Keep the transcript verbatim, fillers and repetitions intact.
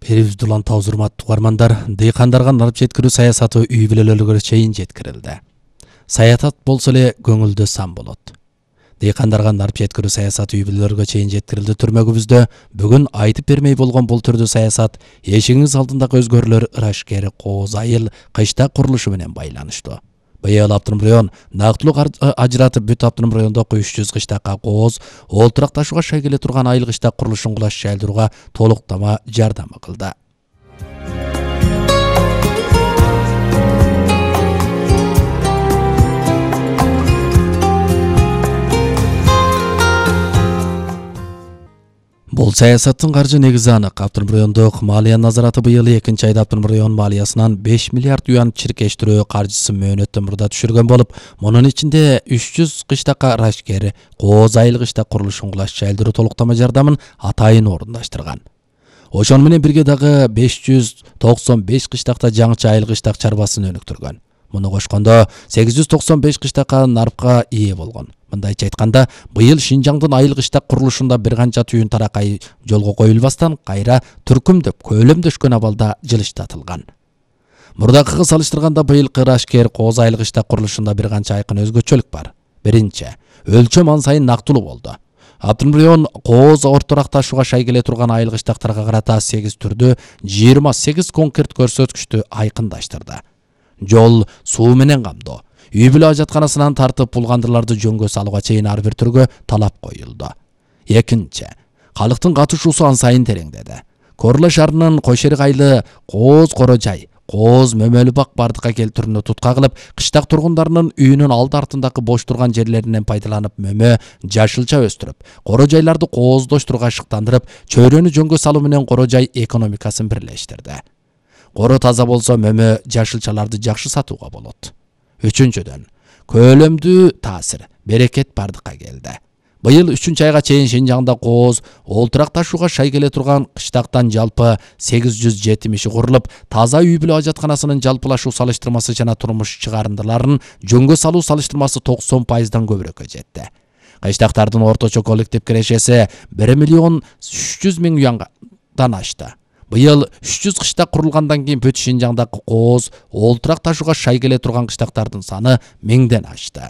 Берибизди улан табыз урматтуу угармандар, дыйкандарга нарып жеткирүү саясаты үй бүлөлөргө чейин жеткирилди. Саятат болсо эле көңүлдө сан болот. Дыйкандарга нарып жеткирүү саясаты үй бүлөлөргө чейин жеткирилди түрмөгүбүздө. Бүгүн айтып бермей болгон бул түрдүү саясат эшигиңиз алдындагы өзгөрүүлөр ырашкер кооз айыл кыштак курулушу менен байланыштуу. Быйыл Автоном район нактылуу ажыратып бүт Автоном райондогу үч жүз кыштакка кооз, олтурак ташууга шай келе турган айыл кыштак курулушун кулаш жайылдырууга толуктама жардам кылды. Бул саясаттын каржы негизи анык. Автоном райондук малия назараты быйыл экинчи айда Автоном район малиясынан беш миллиард юан чиркештирүү каржысын мөөнөттөн мурда түшүргөн болуп, мунун ичинде үч жүз кыштакка рашкер кооз айыл кыштак курулушун кулаш жайылдыруу толуктама жардамын атайын орундаштырган. Ошону менен бирге дагы беш жүз токсон беш кыштакта жаңыча айыл кыштак чарбасын өнүктүргөн. Муну кошкондо сегиз жүз токсон беш кыштакка нарыпка ээ болгон. Мындайча айтканда, быйыл Шинжаңдын айыл кыштак курулушунда бир канча түйүн таракай жолго коюлбастан кайра түркүмдөп, көлөмдөшкөн абалда жылыштатылган. Мурдакыга салыштырганда быйылкы рашкер кооз айыл кыштак курулушунда бир канча айкын өзгөчөлүк бар. Биринчи, өлчөм ан сайын нактылуу болду. Автоном район кооз орторак ташууга шай келе турган айыл кыштактарга карата сегиз түрдүү жыйырма сегиз конкрет көрсөткүчтү айкындаштырды. Жол, суу менен камдоо, үй бүлө ажатканасынан тартып булгандырларды жөнгө салууга чейин ар бир түргө талап коюлду. Экинчи, калктын катышуусу ан сайын тереңдеди. Корла шаарынын Кошерик айылы кооз коро жай, кооз мөмөлү бак бардыкка келтирүүнү тутка кылып, кыштак тургундарынын үйүнүн алды артындагы бош турган жерлеринен пайдаланып мөмө жашылча өстүрүп, коро жайларды кооздоштурууга ашыктандырып, чөйрөнү жөнгө салуу менен коро жай экономикасын бирлештирди. Коро таза болсо мөмө жашылчаларды жакшы сатууга болот. Үчүнчүдөн, көлөмдүү таасир, берекет бардыкка келди. Быйыл үчүнчү айга чейин Шинжаңда кооз, олтурак ташууга шай келе турган кыштактан жалпы сегиз жүз жетимиши курулуп, таза үй бүлө ажатканасынын жалпылашуу салыштырмасы жана турмуш чыгарындыларын жөнгө салуу салыштырмасы токсон пайыздан көбүрөккө жетти. Кыштактардын орточо коллектив кирешеси бир миллион үч жүз миң юандан ашты. Быйыл үч жүз кыштак курулгандан кийин бүт Шинжаңдагы кооз, олтурак ташууга шай келе турган кыштактардын саны миңден ашты.